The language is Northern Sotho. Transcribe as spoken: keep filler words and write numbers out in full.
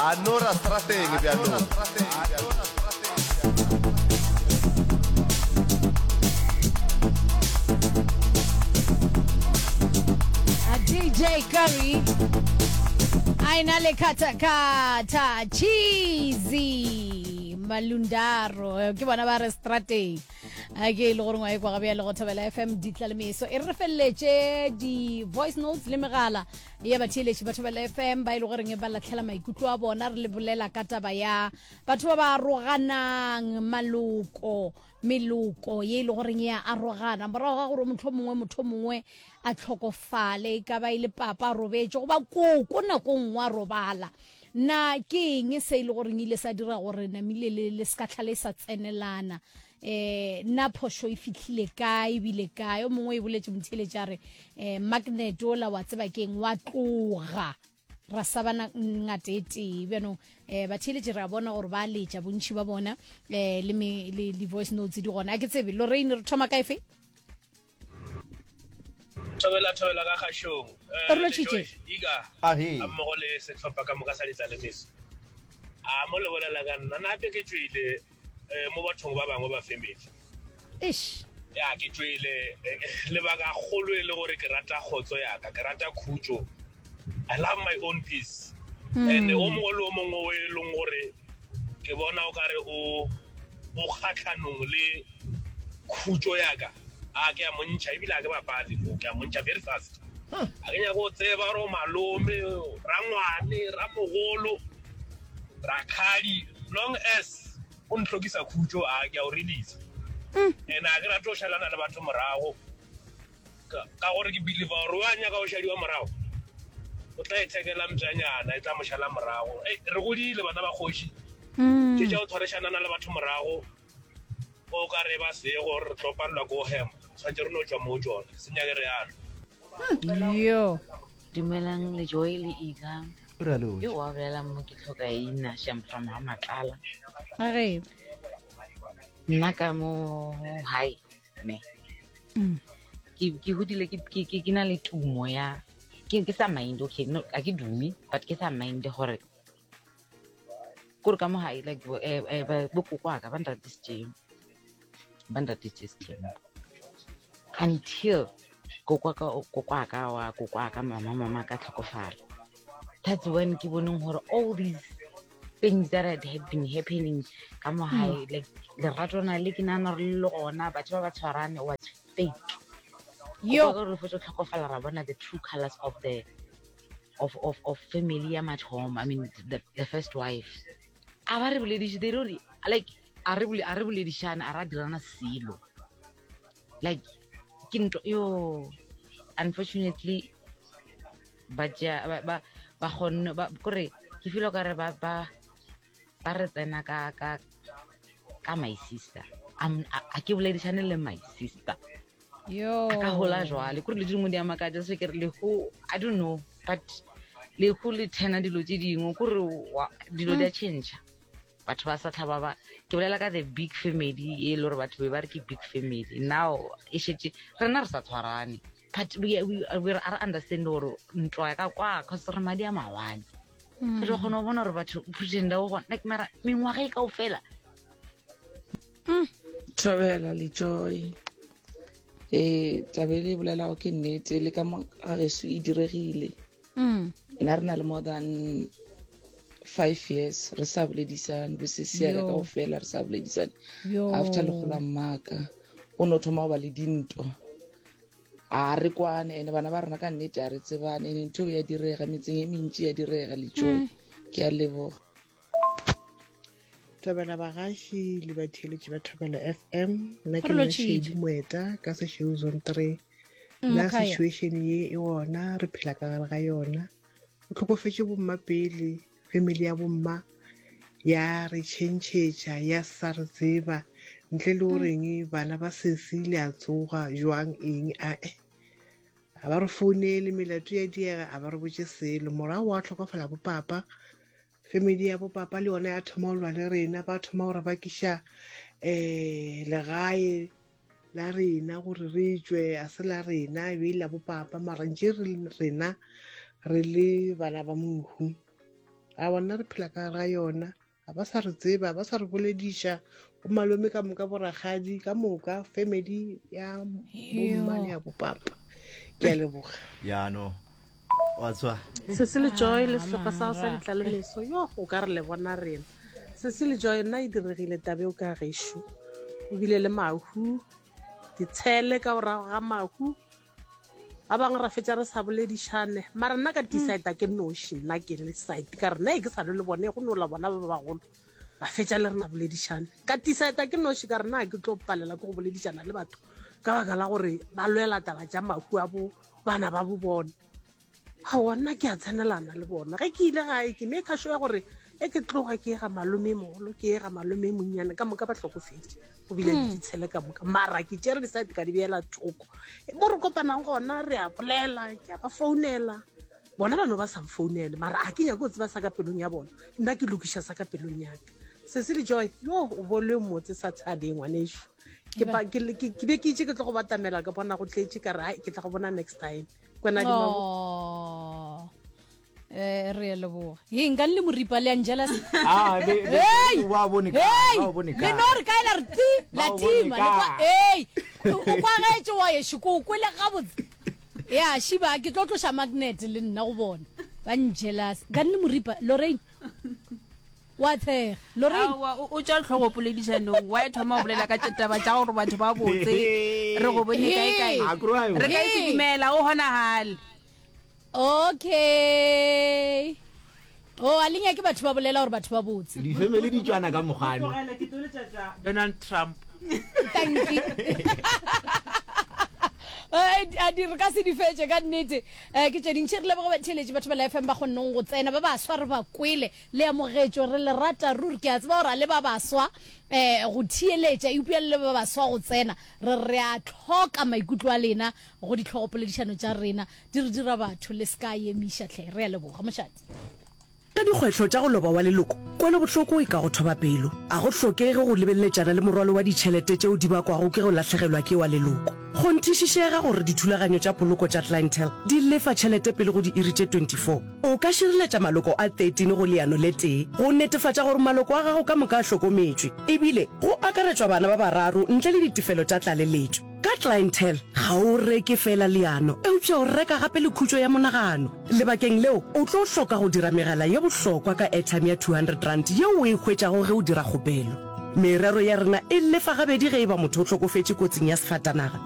A no ra strateng bjanong. A D J Curry a ena le khathakhatha Cheesy Malundaro, ke bona ba re strateng. A ke e le gore ngwa e kwa gabe ya le go Thobela F M ditla le meso e re re feleletše di-voice notes le megala ya batheeletši ba Thobela F M ba e le goreng ba latlhela maikutlo a bona. Re le bolela ka taba ya batho ba ba aroganang, maloko, meloko ye e le goreng ya arogana morago ga gore motho mongwe motho mongwe a tlhokofale, e ka ba e le papa a robetše goba koko nako nngwe a robala. Na ke eng se e le goreng ile sa dira gore namile le le ska tlhale sa tsenelana? eh na phošo e fihlile kae ebile kae? O mongwe e boletše motheeletši a re eh magnet ola wa tseba keng wa tloga ra sa bana ngate e tee. Bjanong um batheeletši re a bona gore ba letša bontšhi ba bona um le me- le di-voice notes di gona. A ke tsebe, Lorraine, re thoma ka efe? Thobela, thobela ka kgašong. Re lotšhitše. Ika Ahe. a mmogo le sehlopha ka moka sa ditlalemiso. A mo le bolela ka nna, nape ke tšwele eh, mo bathong ba bangwe ba family. Ish. Ya ke tšwele eh, lebaka kgolo e le gore ke rata kgotso yaka, ke rata khutšo. I love my own peace. And o mongwe le o mongwe o e leng gore ke bona o kare o o kgatlhanong le khutšo yaka, a ke a montšha, ebile a ke bapale mo, ke a montšha very fast. A ke nyaka go tseba gore o malome, rangwane, ramogolo, rakgadi, long as o ntlhokisa khutšo, a ke a o release. And a ke rate go šalana le batho morago ka ka gore ke believe gore wa nyaka go šadiwa morago o tla ithekela mpšanyana e tla mo šala morago. Ei, re godile bana ba kgoši ke tša go tshwarišanana le batho morago o ka re ba sego re tlo palelwa ko hema, tshwanetse re no tšwa mo tsona, se nyake re yalo. Yo. Dumelang le Joy le Ika. Re a lotšha. Yo wa bolelang mo ke tlhoka ina sham from ha Matlala. Ge. Nna ka mo hae ne. Mm. Ke ke hodile ke ke ke ke na le tumo ya ke ke sa mind, okay, no, a ke dume, but ke sa mind gore kore ka mo hae, like bo eh eh ba bo koko wa ka ba nratisitse ba nratisitse sethembu until koko wa ka koko wa ka wa koko wa ka mama mama ka tlhokofala. That's when ke boneng gore all these things that had, had been happening ka mo hae, like lerato na le ke nahana gore le le gona, batho ba ba tshwarane, was fake. Yo. Gore re fetsa tlhokofala ra bona the true colors of the of of of family ya mathomo, I mean the, the first wife. A ba re bolediše, they don't like a re bole a re boledišane, a ra dirana selo, like ke ntho yo. Unfortunately ba tšea ba ba ba kgonne ba kore ke feel o kare ba ba ba re tsena ka ka ka my sister. I'm a a ke boledišane le my sister. Yo. A ka hola jwale kore le dingwe di a makatša se ke re lehu, I don't know, but lehu le thena dilo tše dingwe kore wa- dilo di a change, batho ba sa tlhaba ba ke bolela ka the big family e le gore batho be ba re ke big family, now e šetše rena re sa tshwarane, but we, we, we re understand gore ntwa ya ka kwa cause re madi a mawane, re tlo kgona go bona gore batho pretenda go gona, like mara mengwaga e kaofela. Thobela le Joy. Eh taba e le e bolelago ke nnete, le ka mo ga geso e diregile. Mm. Nna re na le more than five years re sa boledisane, bosesi ya ka Yo. kaofela re sa boledisane. Yo. After lehu la mmaka o no thoma go ba le dintwa, a re kwane, ene bana ba rena ka nnete a re tsebane, ene ntho eo ya direga metseng e mentši ya direga le Joy. Mm. Ke a leboga. Thobela bagaši le batheeletši ba Thobela F M. Nna ke Re nna lotšhitše. Shady Moeta ka Sešweu Zone three. Mm, Nna Mokhaya. situation ye e gona re phela ka gare ga yona. O tlhokofetše bomma pele, family ya bomma ya re tšhentšhetša, ya sa re tseba ntle le goreng bana ba sesi le a tsoga jwang eng a eh. A ba re founele, melato ya diega, a ba re botše selo. Morago wa tlhokofala bo papa, family ya bo papa le yona ya thoma go lwa le rena, ba thoma gore ba kiša um legae la rena gore re tšwe, a se la rena e be e la bo papa, mara ntše re rena re le bana ba mohu. A bona re phela ka gare ga yona, ga ba sa re tseba, ba sa re bolediša. Bo malome ka moka, bo rakgadi ka moka, family ya bomma le ya bopapa. Ke a leboga. Ya no wa tswa. Sesi le Joy le sehlopha sa sa ditlalemeso, yo o ka re le bona rena. Sesi le Joy, nna e diregile tabe o ka gešo, o bile le mahu ditshele ka morago ga mahu ba bangwe ra fetša re sa boledišane. Mara nna ka decide ke noši, nna ke le side ka re nna e ke sa le bone go nola bona ba bagolo ba fetša le rena boledišane. Ka decide ke noši ka re nna ke tlo palela ke go boledišana le batho ka baka la gore ba lwela taba tša mahu a bo bana ba bo bona. Aowa, nna ke a tsenelana le bona. Ge ke ile gae ke make sure gore e ke tloga ke ye ga malome mogolo, ke ye ga malome monnyane, ka moka ba hlokofetše, go bile le ditshele ka moka. Mara ke tšere di-side ka di beela thoko. Mo re kopanang gona re a bolela, ke a ba founela, bona ba no ba sa mfounele, mara a ke nyake go tseba sa ka pelong ya bona, nna ke lokiša sa ka pelong ya ka. Sesi le Joy, yo o bole motse sa thabeng ngwanešu. Ke pa- ke le- ke- ke be ke itse ke tlo go batamela, ka bona go tletše, ka re ai ke tla go bona next time. Kwena di mabo. Oh. Eh, re a leboga. Ye nka le moripa le Angela. Ah, be- be- Hey! ba bone kae, Hey! ba bone Le kae. no re kae la re ti la Ba o bone tima le kwa kae. hey o kwagetše wa yešo ko o kwele gabotse. Ya shiba ke tlo tloša magnet le nna go bona. Ba njealous. Ka nne moripa Lorraine. Wa tshega. Lorraine. Aowa, o o tšwa tlhogo poledišanong wa e thoma go bolela ka tše taba tša gore batho ba botse re go bone kae kae. A kry wa Re ka e Hey. dumela o honagale. Okay. Oh, a le nyake batho ba bolela gore batho ba botse. Di-family di tšwana ka mokgwane. Tlogela ke tlo letšatša Donald Trump. Thank you. Eh, a di re ka se di fetše ka nnete. Eh, ke tše dintši re leboge batheeletši batho ba la F M ba kgonneng go tsena, ba baswa re ba kwele le amogetšwe, re le rata ruri. Ke a tseba gore a le ba baswa eh go theeletša, eupša le ba baswa go tsena, re re a tlhoka maikutlo a lena go ditlhogopoledišano tša rena, di re dira batho le se ka emiša tlhe. Re a leboga mošate. Ka dikgwetlho tša go loba wa leloko, kwelobohloko e ka go thoba pelo. A go hlokege go lebeleletšana le morwalo wa ditšhelete tšeo di bakwago ke go lahlegelwa ke wa leloko. Kgonthišišega gore dithulaganyo tša poloko tša Clientele di lefa tšhelete pele go diiri tše twenty-four. O ka šireletša maloko a thirteen go leano le tee go netefatša gore maloko a gago ka moka a hlokometšwe, ebile go akaretšwa bana ba bararo ntle le ditefelo tša tlaleletšo. Ka Clientele ga o reke fela leano, eupša o reka gape le khutšo ya monagano. Lebakeng leo o tlo hloka go dira megala ye bohlokwa ka airtime ya two hundred rand yeo o e hwetšago ge o dira kgopelo. Merero ya rena e lefa gabedi ge e ba motho o hlokofetše kotsing ya sefatanaga.